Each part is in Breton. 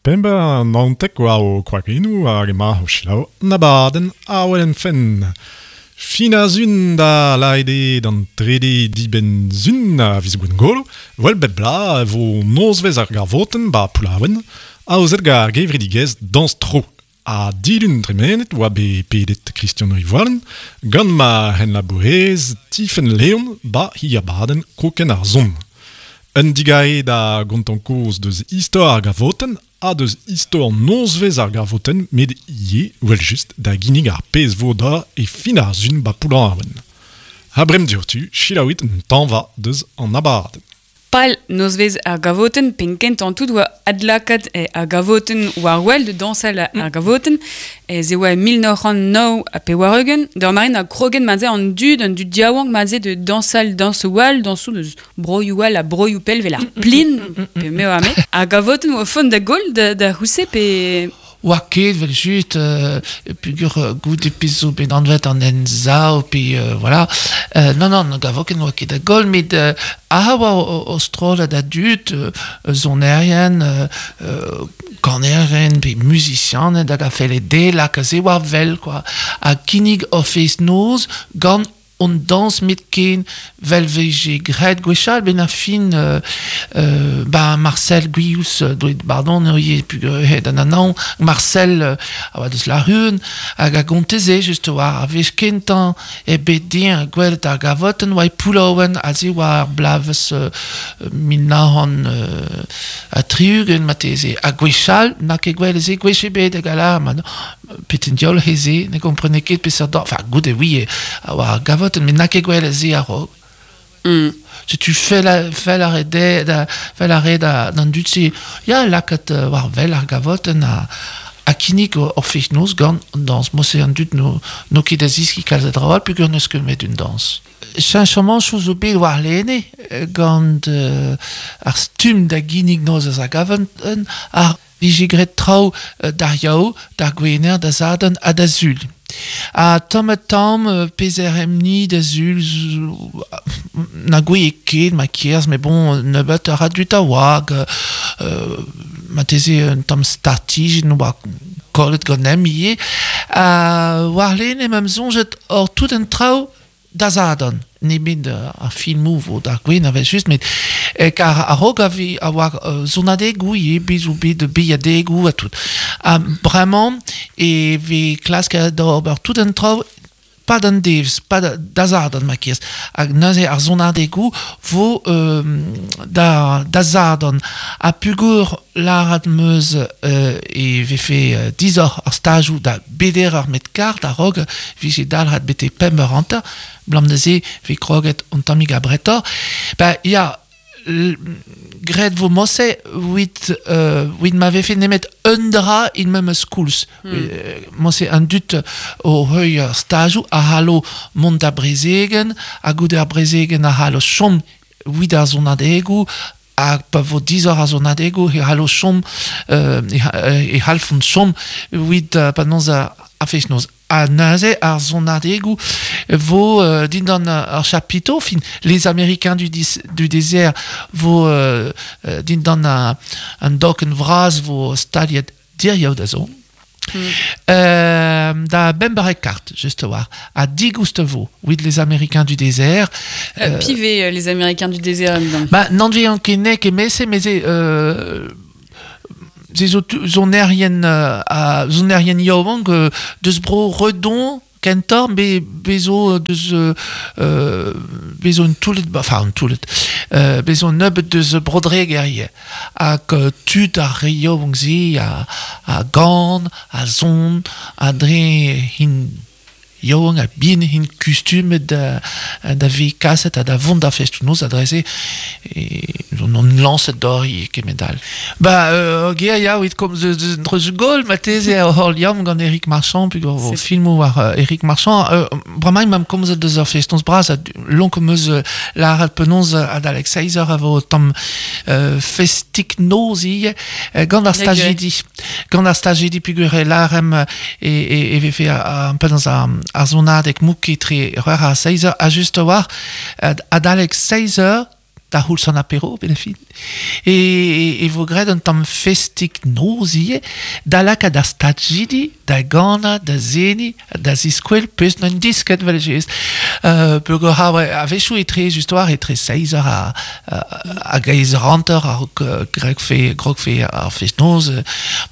Pemp ha 19 oa o kwakennoù hag emañ o selaou an abadenn Awel Fenn. Fin ar sun da lâret eo d'an trede dibenn-sun a viz Gwengolo, 'vel bep bloaz e vo nozvezh ar gavotenn 'ba Poullaouen, aozet gant ar gevredigezh Dañs Tro. Ha dilun tremenet oa bet pedet Christian Rivoalen gant ma c'henlabourez Tifenn Leon 'ba he abadenn Kokenn ar Son. Un digarez da gontañ kaoz deus istor ar gavotenn ha deus istor nozvezh ar gavotenn met ivez evel-just da ginnig ar pezh 'vo da e fin ar sun 'ba Poullaouen. Ha bremañ diouzhtu selaouit un tañva deus an abadenn. Pal nozvezh ar gavotenn penn-kentañ tout oa adlakaat ar gavotenn war-wel da dañsal ar gavotenn. Ez e oa e 1989 d'ur mare na kroget ma an dud, an dud yaouank ma da dañsal dañsoù all, dañsoù deus broioù all ha broioù pell 'vel ar plin pe me oa me. Ar gavotenn oa font da goll da c'house pe Oa ket evel-just peogwir goude pezh zo bet anvet an Emsav pe voilà. Non non, ne gavo ket n'oa ket da goll met aze oa o strollad a dud, sonerien, kanerien pe muzisianed hag a felle dezhe lakaat se war wel quoi. Ha kinnig ur fest-noz gant On dañs met ken 'vel 'vije graet gwechall 'benn ar fin ba Marcel Gwilhous deuet pardon eo peogwir d'an anaon Marcel a oa deus Laruen hag a gonte se just war ar wech kentañ eo bet din gwelet ar gavotenn oa e Poullaouen aze oa ar bloavezh 1960 marteze ha gwechall n'a ket gwelet se gwech ebet hag a lâr ma Petin diaoul he-se, ne gomprene ket peseurt dor. Enfin, goude oui, a oa ar gavotenn, met n'a ket gwelet se a-raok. Setu fell a, fell a re de, da, fell a re da, d'an dud-se, ya, lakaat war wel ar gavotenn ha, ha kinnig ur fest-noz gant an dañs. Mod-se an dud n'o n'o ket da zeskiñ kalz a draoù all peogwir n'eus ket met un dañs. Cheñchamanchoù zo bet warlene gant ar stumm da ginnig noz eus ar gavotenn, ar vije graet traoù d'ar Yaou, d'ar Gwener, da Sadorn ha da Sul. Ha tamm-ha-tamm, pezh a raemp-ni da Sul, na gouie ket ma kerzh, met bon, nebeut a ra dud a oa, hag marteze un tamm startijenn oa kollet ganemp ivez. Ha warlene 'm soñjet hor tout an traoù da Sadorn, nemet ar filmoù 'vo d'ar Gwener evel-just, met kar a-raok a ve a oa sonadegoù ivez, bet zo bet beilhadegoù ha tout. Ha bremañ e vez klasket d'ober tout an traoù pas d'an devezh, pas da Sadorn ma kerz. Hag neuze ar sonadegoù 'vo da da Sadorn. Ha peogwir lâret 'm eus e vefe disoc'h ar stajoù da beder eur met kart a-raok 'vije dalc'het betek pemp eur hanter, 'blam da se 'vez kroget un tammig abretoc'h. Ba ya, graet 'vo morse 'vit 'vit ma vefe nemet un dra e memes koulz. Morse an dud o heuilh ar stajoù a c'hallo mont da brezegenn ha goude ar brezegenn a c'hallo chom 'vit ar sonadegoù Ha pa vo disoc'h ar sonadegoù e c'hallo chom e c'hallfont chom evit penaos ar fest-noz. Ha neuze ar sonadegoù vo dindan ar chapiteau, fin les Américains du, du désert vo dindan an dokenn vras vo staliet diriaou da zont. Da bemp eur kart, just a-walc'h. Ha digoust vo, with les Américains du désert. Piv eo les Américains du désert Ba, n'anvean ket nek emese, met se... se zo sonerien, uh, sonerien yaouank deus bro Redon, Kentoc'h be be zo deus be zo un toullad enfin un toullad be zo un nebeud deus Bro-Dreger ivez hag tud ar re yaouank-se a gan, a son ha dre int yaouank ha bihan int kustumet da da vezañ kaset ha da vont d'ar festoù-noz ha dre-se on lañset d'ober kement all. Ba ur ya evit komz eus un dreuz-gaol marteze hor liamm gant Eric Marchand peogwir o filmoù war Eric Marchand. Bremañ emañ komzet eus ur festoñs bras ha lonk am eus lâret penaos adalek seizh eur a vo tamm festik-noz ivez gant ar stajidi. Gant ar stajidi peogwir e lâremp e vefe penaos ar sonadeg mouk etre c'hwec'h ha seizh eur ha just a-walc'h adalek seizh eur. da c'houlz an apero, ben fin. E, e vo graet un tamm festik noz ivez, da lakaat ar stajidi, da ganañ, da seniñ, da ziskwel peus n'on disket vel just. Peogwir ha a-wechoù etre just war etre seizh eur ha hag eizh eur hanter a-raok gregfe grogfe ar fest-noz.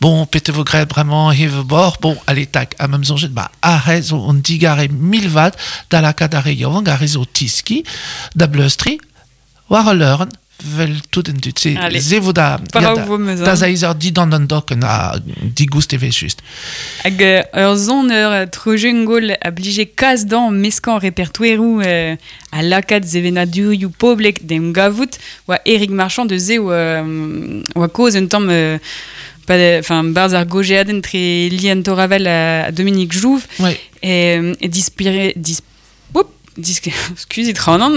Bon, pet e vo graet bremañ hev bord, bon, allez tak, ha me'm soñjet, ba aze zo an digarez mil vat da lakaat ar re yaouank, ar re zo tiskiñ, da bleustriñ, war al leurenn, vel tout an dud. Se, se vo da, ya, da, da seizh eur didan an dokenn ha digoust e vez just. Hag ur son ur trojengol a blije kas dañ meskañ repertoeroù ha lakaat sevenadurioù poblek d'em gavout oa Erik Marchand deus se oa, oa kaoz un tamm enfin barzh ar gojeadenn tre Liane Toravel ha Dominique Jouve ouais. e, e dispire, dis, Oup, Skuzit c'hanon,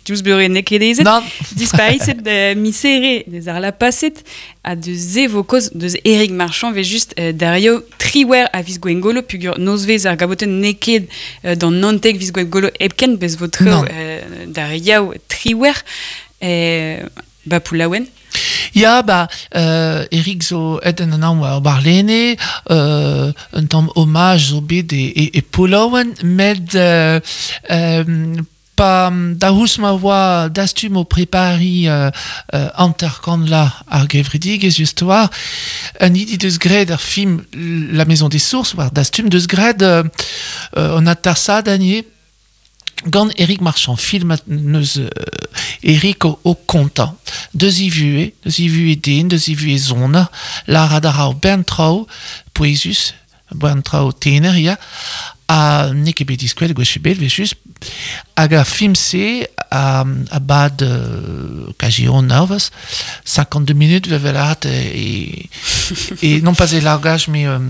diouzh beure n'eo ket aezet. Nann. Dispariset misere deus ar lapaset ha deus se vo kaoz deus Erik Marchand vez just Dario triwec'h a viz Gwengolo pugur nozvezh ar gabotenn n'eo ket d'an 19 viz Gwengolo hepken bez vo treo Dario triwec'h ba Poullaouen. Ya, ba, Eric zo aet en anaon war warlene, un tamm hommage zo bet e, e, e Poullaouen, met pa daoust ma oa dastum o prepariñ hanter-kant la ar gevredigezh just war, an hini deus graet ar film La Maison des Sources war dastum deus graet an atersadenn ivez Gant Erik Marchand, filmat neus Erik o, o kontañ. Deus e vuhez, deus e vuhez den, deus e vuhez zoner, lârat a ra ur bern traoù pouezus, bern traoù tener, ya, ha n'eo ket bet diskouezet gwech ebet, evel-just. Hag ar film-se a, a bad kazi un eurvezh, 52 minutes, 'vel lâret e, e, non pas e langage, mais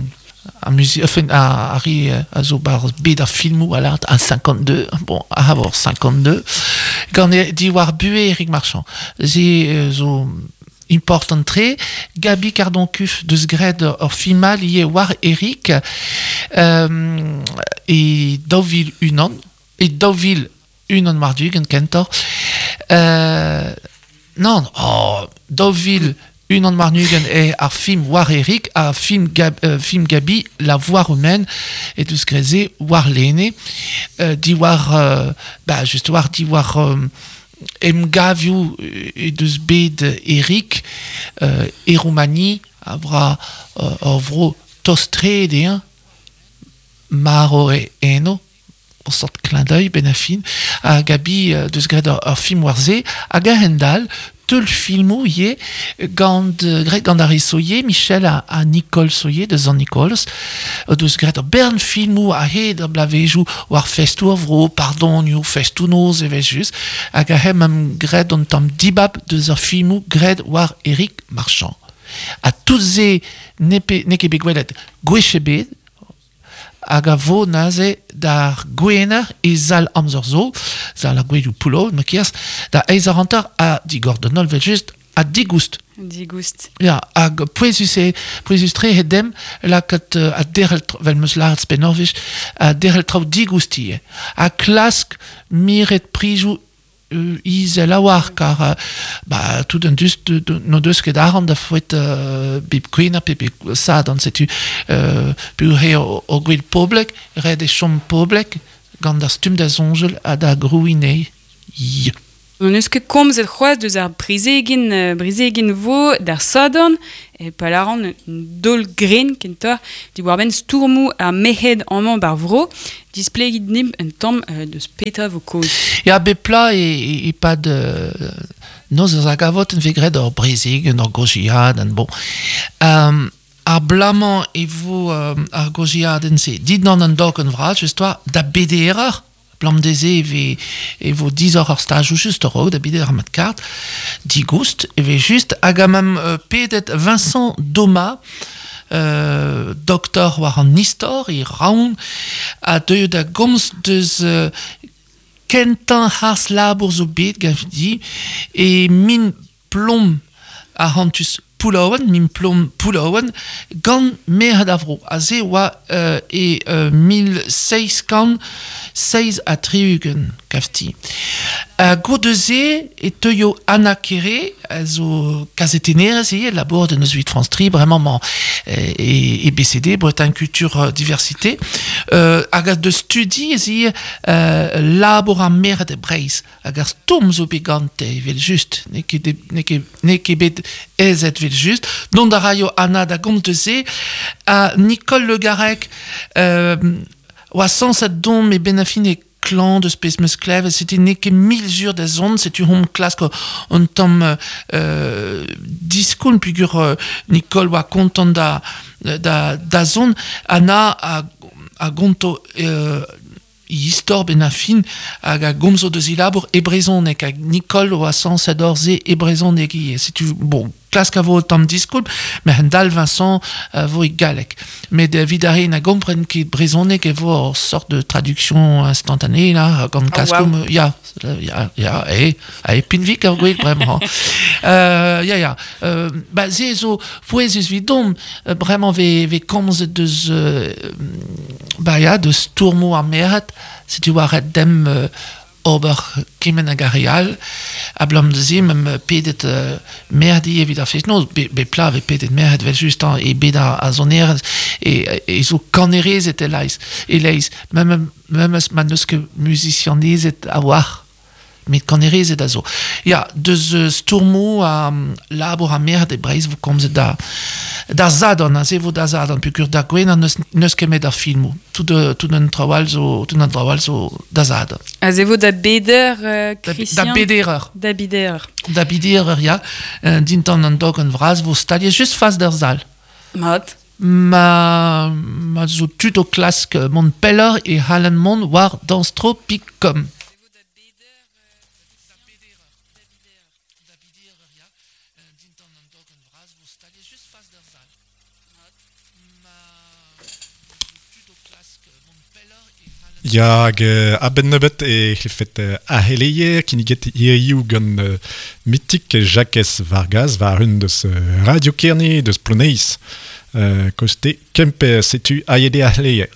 Ar muzik, enfin, ar re a zo barzh bed ar filmoù a lâret un 52, bon, a vor 52, gant diwar buhez Erik Marchand. Se zo important-tre. Gaby Cardon-Cuff deus graet ur film all ivez war Erik e 2001, e 2001 war-ugent kentoc'h. Nann, oh, 2021 eo ar film war Erik ha film, Gab, film Gaby La Voix romaine e deus graet se warlene diwar ba just war diwar emgavioù e deus bet Erik e Roumani a vra ur vro tost-tre dezhañ marv eo eno ur sort clin d'œil benn ar fin ha Gaby deus graet ur film war se hag a-hend-all teulfilmoù ivez gant graet gant ar re Soyer Michel ha, ha Nicole Soyer deus an Nicolas o deus graet ur bern filmoù a-hed ar bloavezhioù war festoù ar vro pardonioù festoù-noz evel-just hag a hemp graet un tamm dibab deus ar filmoù graet war Eric Marchand ha tout se n'eo ket bet gwelet gwech ebet hag a vo neuze d'ar Gwener e sal amzer zo, sal ar gouelioù Poullaouen ma kerz, da eizh eur hanter ha digor d'an holl evel-just ha digoust. Digoust. Ya, hag pouezus eo, pouezus-tre eo demp lakaat ha derc'hel, 'vel 'm eus lâret 'spenn ur wech, ha derc'hel traoù digoust ivez. Ha klask miret prizoù izel a-walc'h kar ba tout an dud n'o deus ket arc'hant da foet bep gwener pe bep sadorn setu peogwir eo o gwel poblek ret eo chom poblek gant ar stumm da soñjal ha da grouiñ anezhi. N'hon eus ket komzet c'hoazh deus ar brezegenn brezegenn vo d'ar sadorn e pa lâran un daol grenn kentoc'h diwar-benn stourmoù ar merc'hed amañ ba'r vro. Displegit dimp un tamm deus petra vo kaoz. Ya, bep plat e-pad noz eus ar gavotenn vez graet ur brezegenn, ur gaozeadenn, bon. Ar bloaz-mañ e vo ar gaozeadenn-se dindan an dokenn vras, just 'oa, da beder eur. Abalamour dezhe e vez e vo disoc'h ar stajoù just a-raok da beder mat kart digoust e vez just hag a mam pedet Vincent Doma doktor war an istor e Raon a deuio da gomz deus kentañ harz-labour zo bet ganti e min plom arc'hantus Poullaouen, min plom Poullaouen, gant merc'hed ar vro. Ha se oa e 1767, kafti. Goude-se e teuio Anna Kere, a zo kazetennerez ivez, labour de Nozvit France Tri, bremañ mañ e, e BCD, Bretagne Culture Diversité, hag a deus studi ez ivez labour ar merc'hed e Breizh, hag ar stourm zo bet gante, evel just, n'eo ket, n'eo ket, n'eo ket bet aezet evel just. Dont a raio Anna da gomz deus se, ha Nicole Le Garrec, oa sañset dont met 'benn ar fin eo klañv deus pezh 'meus klevet, setu n'eo ket mil sur da zont, setu hom klask un tamm diskoulm peogwir Nicole oa kontant da da da zont. Anna a a gonto istor 'benn ar fin hag a gomzo deus he labour e brezhoneg hag Nicole oa sañset ober se e brezhoneg ivez. Setu bon, klask a vo tamm diskoulm, met a-hend-all Vincent a vo e galleg. Met evit ar re na gompren ket brezhoneg e vo ur sort de traduction instantanée là, gant klaskoù... Oh, wow. Ya, ya, ya, e, e pinvik ar gwech bremañ. Ya, ya. Ba se zo pouezus 'vidomp, bremañ ve, ve komzet deus, ba ya, deus stourmoù ar merc'hed, setu oa ret demp ober kement hag ar re all, abalamour da se 'meump pedet merc'hed evit ar fest-noz, bep plat 'vez pedet merc'hed evel-just hañ, e bed ar sonerezh e zo kanerezed e-leizh, e-leizh, memes ma n'eus ket muzisianezed a-walc'h. Met kanerezed a zo. Ya, deus stourmoù ha labour ar merc'hed e Breizh 'vo komzet da da Sadorn, aze 'vo da Sadorn, peogwir da Gwener n'eus ket met ar filmoù. Tout, tout an traoù all zo, tout an traoù all zo da Sadorn. Aze 'vo da beder, Christian? Da beder eur. Da beder eur. Da beder eur, ya. Dindan an dogenn vras 'vo staliet just fas d'ar sal. Mat. Ma, ma zo tud o klask mont pelloc'h e c'hallan mont war danstropic.com. Ya, hag a-benn nebeut e c'hellfet ar c'heleier kinniget hiziv gant Mitik Jakez Vargas war-un deus Radio Kerne deus Ploneiz. Koste Kemper, setu aet eo ar c'heleier.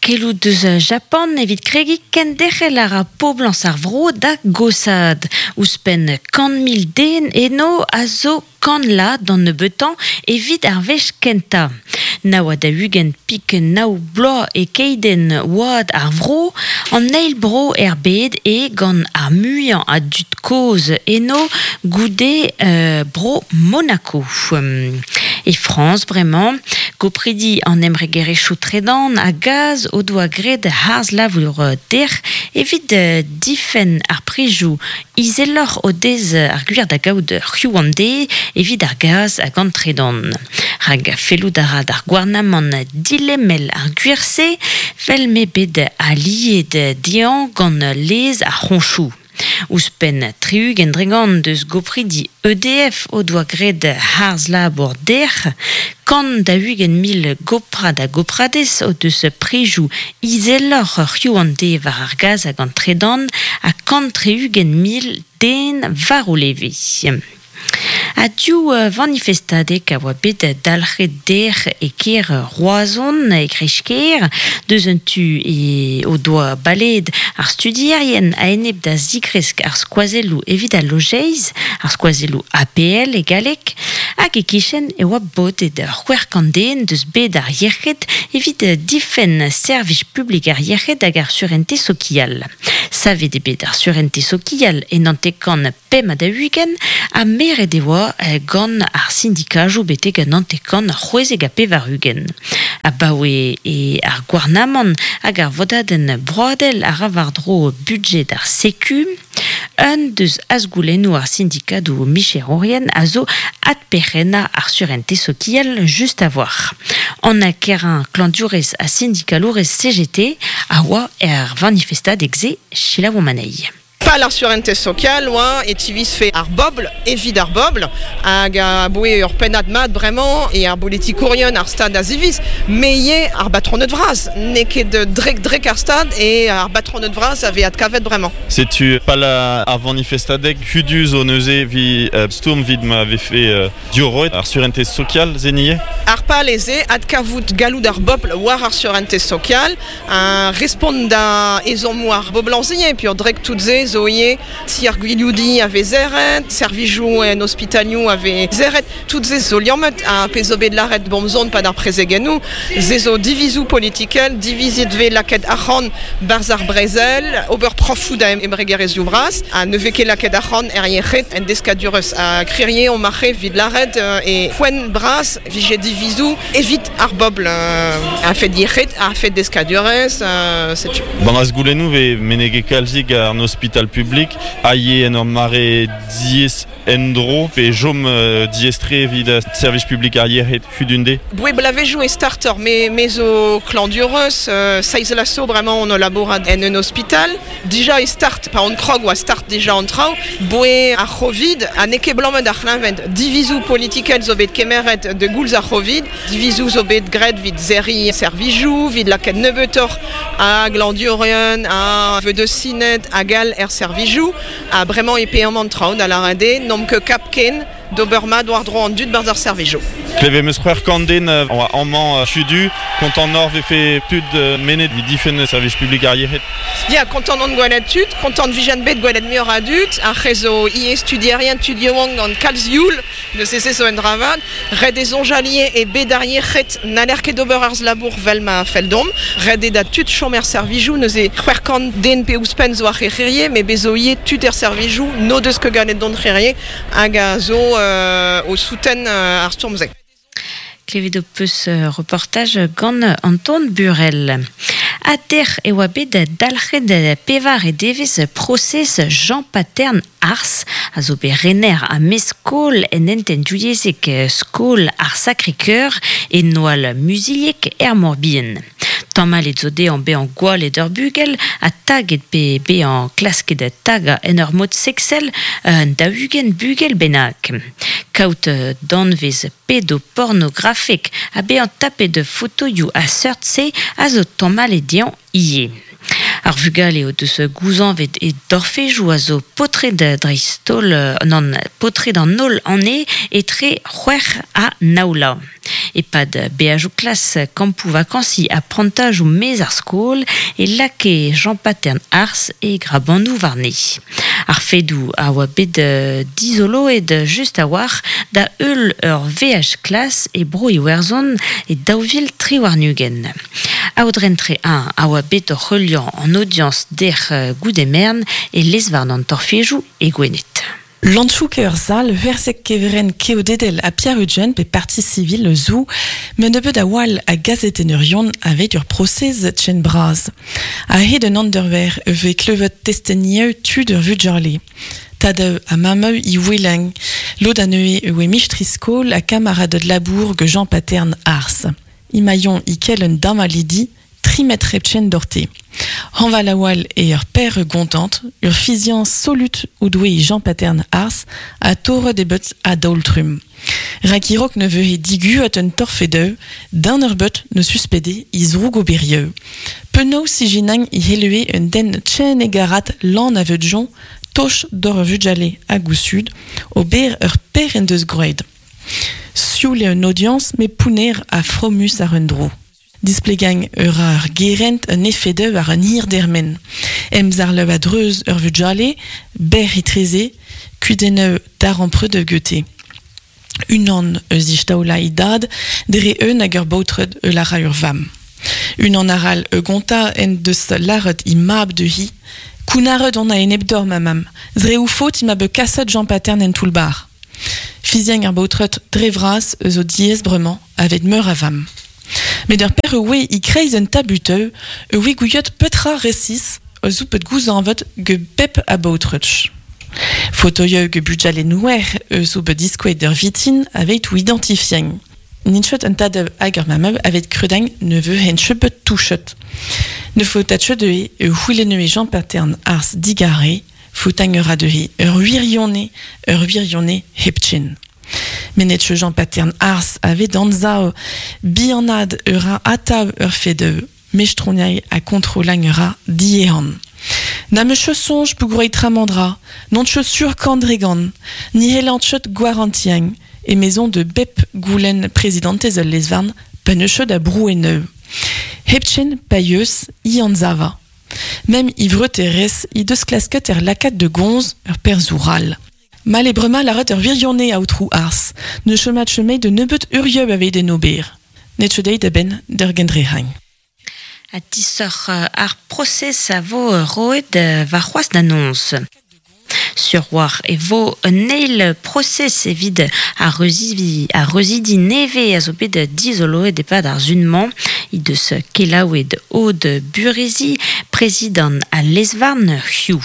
Keloù deus Japan evit kregiñ kenderc'hel a ra poblañs ar vro da goshaat. Ouzhpenn 100,000 den eno a zo kant la d'an nebeutañ evit ar wech kentañ. Nav ha daou-ugent pik nav bloaz e keidenn oad ar vro, an eil bro er bed eo gant ar muiañ a dud kozh eno goude bro Monaco. E Frañs bremañ, gopridi an embregerezhioù tredan ha gaz o doa graet harz-labour dec'h evit difenn ar prizioù izeloc'h o dez ar gwir da gaout c'hiv an deiz evit ar gaz hag an tredan. Rak fellout a ra d'ar gouarnamant dilemel ar gwir-se, 'vel m'eo bet aliet dezhañ gant lez ar c'hoñchoù. Ouzhpenn 60% deus gopridi EDF o doa graet harz-labour dec'h. 140,000 goprad ha gopradez o deus prizioù izeloc'h c'hiv an deiz war ar gaz hag an tredan ha 160,000 den war o leve. Ha div vanifestadeg a oa bet dalc'het dec'h e kêr Roazhon, e kreiz-kêr. Deus un tu e o doa baleet ar studierien a-enep da zigresk ar skoazelloù evit al lojeiz, ar skoazelloù APL e galleg, hag e-kichen e oa bodet 600 den deus bed ar yec'hed evit difenn servij publik ar yec'hed hag ar surentez sokial. Savet eo bet ar surentez sokial e 95 45 ha meret e oa gant ar sindikajoù betek an 94. Abaoe eo ar gouarnamant hag ar vodadenn broadel a ra war-dro budjed ar Seku. Un deus azgoulennoù ar sindikadoù micherourien a zo adperc'hennañ ar surentez sokial just a-walc'h. Anna Kerrain, klañvdiourez ha sindikalourez CGT, a oa er vanifestadeg-se. Selaouomp anezhi. Pal ar surentez sokial oa e tivizfe ar bobl evit ar bobl hag a boe ur pennad mat bremañ e ar bolitikourien ar stad a ziviz me ivez ar batroned vras n'eo ket drek-drek ar stad e ar batroned vras a vez adkavet bremañ. Setu pal ar vanifestadeg hudu zo neuze evit stourm evit ma vefe diorroet ar surentez sokial se ivez. Ar pal eo se, adkavout galloud ar bobl war ar surentez sokial ha respont da ezhommoù ar boblañs ivez peogwir tout se zo ivez ti ar gwilioudiñ a vez serret, servijoù en ospitalioù a vez serret, tout se zo liammet ha pezh zo bet lâret bomzon pad ar prezegennoù, se zo divizoù politikel, divizet vez lakaet arc'hant 'barzh ar brezel, ober profoù da embregerezhioù bras ha ne vez ket lakaet arc'hant er yec'hed, en deskadurezh ha kririe omp ar evit lâret e poent bras vije divizoù evit ar bobl a-fet yec'hed, a-fet deskadurezh, setu. Gant ar goulennoù vez meneget kalzik an ospital publik a ye en ur mare diaes en-dro pe chom diaes-tre evit servij publik ar yec'hed hudunde. Boe blavezhioù e starter, me, me zo klañdurez, seizh laso bremañ on o labourat en un ospital. Dija e start, pa on krog oa start dija an traoù, boe ar c'hovid, ha n'eo ket blammet ar c'hleñved. Divizoù politikel zo bet kemeret da goulz ar c'hovid, divizoù zo bet graet evit serriñ servijoù, evit lakaat nebeutoc'h a glañdurien, a vedesined hag all er servijoù. Ha bremañ e paeomp an traoù, da lâret eo n'omp ket kap ken d'ober mat war-dro an dud 'barzh ar servijoù. Klevet 'm eus 600 den oa amañ hudu, kontant oc'h 'vefe tud mennet evit difenn servij publik ar yec'hed. Ya, kontant on gwelet tud, kontant 'vijen bet gwelet muioc'h a dud, ar re zo ivez studierien, tud yaouank gant kalz youl, neuze se zo un dra vat. Ret eo soñjal ivez e bed ar yec'hed n'haller ket ober arz labour 'vel ma fell deomp. Ret eo da tud chom er servijoù, neuze 600 den pe ouzhpenn zo ar c'hrec'hier, met bez zo ivez tud er servijoù n'o deus ket gallet dont c'hrec'hier hag a zo o souten ar stourm-se. Klevet ho peus reportaj gant Anton Burel. Ha dec'h e oa bet dalc'het pevare devezh prosez Jean Patern Ars, a zo bet rener ha mestr-skol en hentenn divyezhek skol ar Sacré-Cœur e Noal Muzilheg er Mor-Bihan. Tamallet zo dezhañ bezañ gwallet ur bugel ha taget pe bezañ klasket tagañ en ur mod seksel un 40 bugel bennak. Kaout danvez pedopornografek ha bezañ tapet fotoioù a seurt-se a zo tamallet dezhañ ivez. Ar vugale o deus gouzañvet e dorfejoù a zo paotred dreist-holl, nann, paotred an holl anezhe etre c'hwec'h ha nav vloaz. E-pad beajoù klas, kampoù vakañsiñ ha prantajoù maez ar skol e lakae Jean Patern Ars e grabanoù warne. Ar fedoù a oa bet dizoloet just a-walc'h da heul ur veaj klas e Bro-Iwerzhon e 2023. Aodren Trehin a oa bet oc'h heuliañ an audiañs dec'h goude-merenn e lez-varn an torfejoù e Gwened. Lantchouke ur sal versek kevrenn keodedel ha Pierre-Eugène pe parti civil zo met nebeut a-walc'h a gazetenneurion aveit ur prosez chen bras. A-hed un anderver e vez klevet testenieu tud ur vugale. Tadeu ha mammeu i oueleng. Lod anezhe e oe mistri-skol ha kamaraded labour ge Jean Patern Ars. Imaion i kel un damalidi tri metr hepchen dorte. Hañval a-walc'h eo ur père gontant, ur fiziañs solut o doe Jean Patern Ars ha torret eo bet a-daol-trumm. Rak a-raok ne vehe diguet un torfedeu, d'un ur bet ne suspede i zrougoberieu. Penaos ijinañ i helue un den tchen egarat lan a veudjon, toch d'or ur vugale hag o sud, ober ur per en deus groet. Sioul eo un audiañs met pounner ha fromus àr un dro. Displegañ ur ar gerent un efedeu war un hir dermen. Emzarleù a-dreuz ur vugale, berr etreze, kudennoù darempreud gete. Unan eus istaola e dad dre eun hag ur baotred eul a ra ur vamm. Unan arall e gonta en deus lâret he mab dezhi, Kounnaret on a-enep d'hor ma mamm, dre o faot ema bet kaset Jean Patern en toull-bac'h. Fiziañ ar baotred dre vras eus o diaes bremañ aveit meur a vamm. Met ur per e oe e-kreiz un tabuteu e oe gouiet petra resis eus out bet gouzañvet ge bep a baotred. Fotoioù ge bugale nouer eus out bet diskouezet d'ur vitin aveit o identifiañ. N'int ket un tad hag ur mamm aveit kreudañ ne vehent ket bet touchet. Ne faotat ket dezhe e c'houlennoe Jean Patern Ars digare, Foutang ur a ur wirione, ur wirione hepchen. Menet Jean Patern ars ave danzao bianad ur a atav ur fedeu mestroniai a kontrolang ur a diehan. Na me sonj pou tramandra, non sur kandregan, ni helanchot gwarantiang, e maison de bep goulen présidentez ul lesvarn, pa ne chod a broueneu. Hepchen paieus i anzava. Mem ivre teres i deus klasket er lakat de gonz ur perzoural. Mal e brema laret ur virionne aotrou ars, ne chemat chemei de nebeut urieub aveit en ober. Net chedeit da ben der gendrehain. A disoc'h ar proses a vo roet war c'hoaz d'annonce. Sur war e vo un eil proses evit a reuzidi neve a zo bet dizoloet epad ar zunman i deus kelaouet od Burezi, prezident a Lesvarn Hiu.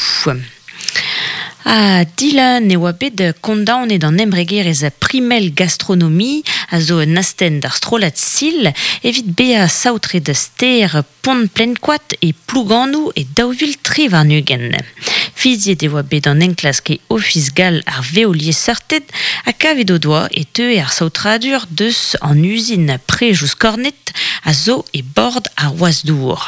A Dylan e oa bet kondaonet an embregerez primel gastronomie a zo un asten d'ar strolat sil evit bea saotret ster pont plenkoat e plouganou e daouvil trevarnugen. Fiziet e oa bet an enklask e ofis gal ar veolier seurtet a kavet o doa e teue ar saotradur deus an uzin prejouz kornet a zo e bord ar oazdour.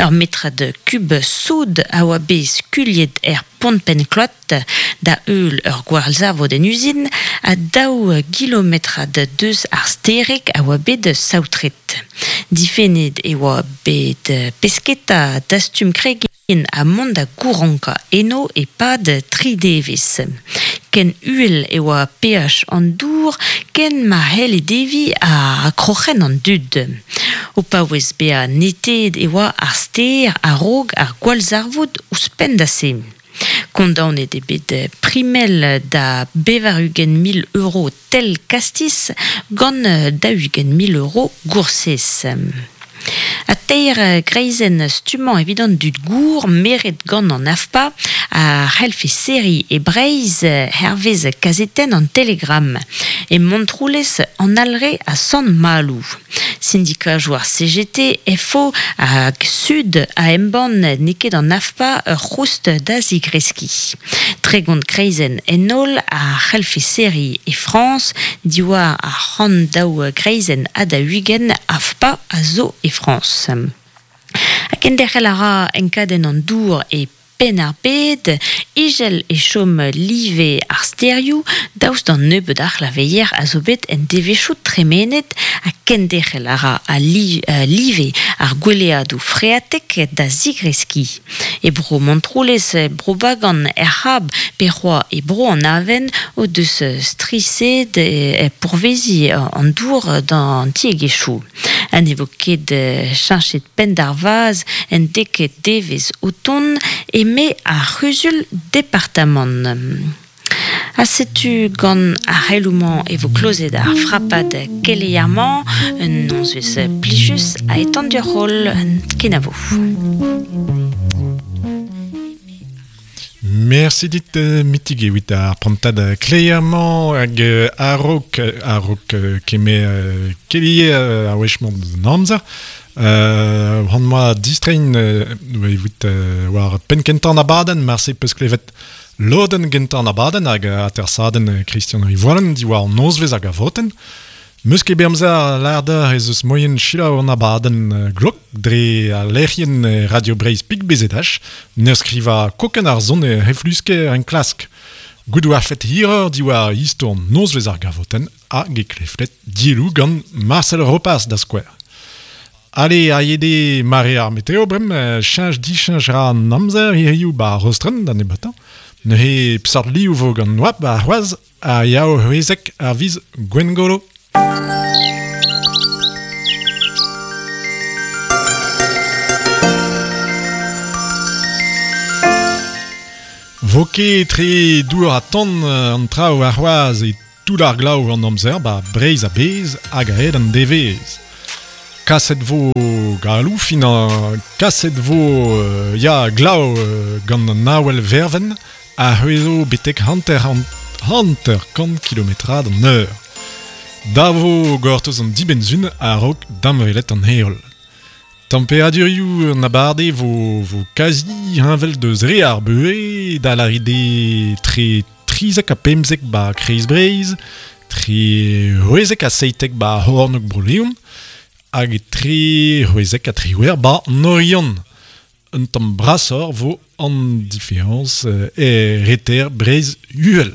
Ur metrad kub soud a oa bet skuliet er pont penklot da eul ur gwalzavod en uzin a daou kilometrad deus ar sterek a oa bet saotret. Difennet e oa bet pesketa dastum kregin a mont da gouranka eno e pad tri devez. Ken uhel e oa pH an dour, ken ma hell e devi a kroc'hen an dud. O paouez bea neted e oa ar ster a rog ar gwalzarvoud ouzhpenn da se. Kondaonet e bet primel da bevar-ugent mil euro tel kastis gant da ugent mil euro goursez. A teir greizen stummañ evit an dud gour meret gant an AFPA a c'hellfe seri e Breizh hervez kazetenn an Telegram e Montroulez an Alre a Sant Malou. Syndikat ar CGT FO hag Sud a embann n'eo ket an AFPA ur c'houst da zigreski. Tregont kreizenn en holl a c'hellfe seri e Frañs diwar ar c'hant daou greizenn ha da ugent AFPA a zo e Frañs. A kenderc'hel a ra enkadenn an dour e penn ar bed, ijel e chom live ar sterioù, daoust d'an nebeud ar c'hlaveier a zo bet en devezhioù tremenet ha kenderc'hel a ra a live ar gweleadoù freatek da zigreski. E bro Montroulez, bro Bagan, er c'hab, pe c'hoa e bro an aven o deus strised e pourvezi an dour d'an tiegezhioù. An evo ket cheñchet penn d'ar vaz en dek devez o ton e me ar c'huzul departamant. A setu gant ar c'heloumañ e vo klozet ar frapad keleier-mañ, un nozvezh plijus a etan ur roll kenavo. Merci dit mitig evit ar prantad kleier-mañ hag a-raok keme keleier ar wech-mañ d'an amzer. Han moa distrein evit war penn kentañ an abadenn, marse peus klevet lodenn gentañ an abadenn hag atersadenn Christian Rivoalen diwar an nozvezh hag a votenn. Meus ket bet amzer lâr ez eus moien selaou an abadenn glok dre al lec'hienn Radio Breizh Pik BZH, n'eur skrivañ kokenn ar son e heflusker enklask. Gout war fet hiror diwar istor nozvezh ar gavotenn hag e kleflet dielloù gant Marcel Ropas da skouer. Ale, a yede mare ar meteo brem, cheñch dicheñch ra an amzer hiziv ba rostren da nebatañ. Neuze psart liv vo gant noap ba c'hoazh a yao c'hwezek ar viz Gwengolo. Vo ket tre dour ha tan an traoù ar c'hoazh e tout ar glav an amzer ba Breizh a-bezh hag a-hed an devezh. Kaset vo galou finañ, kaset vo ya glav gant an awel verven a c'hwezo betek hanter kant kilometrad an eur. Da vo gortoz an dibenn-sun a-raok damwelet an heol. Temperadurioù an abarde vo kazi heñvel deus re ar beure da l'aride tre 13 ha 15 ba Kreiz Breizh, tre 16 ha 17 ba Hornog Bro-Leon, hag tre 16 ha 18 ba Norion. Un tamm brasoc'h vo an différence e reter Breizh uhel.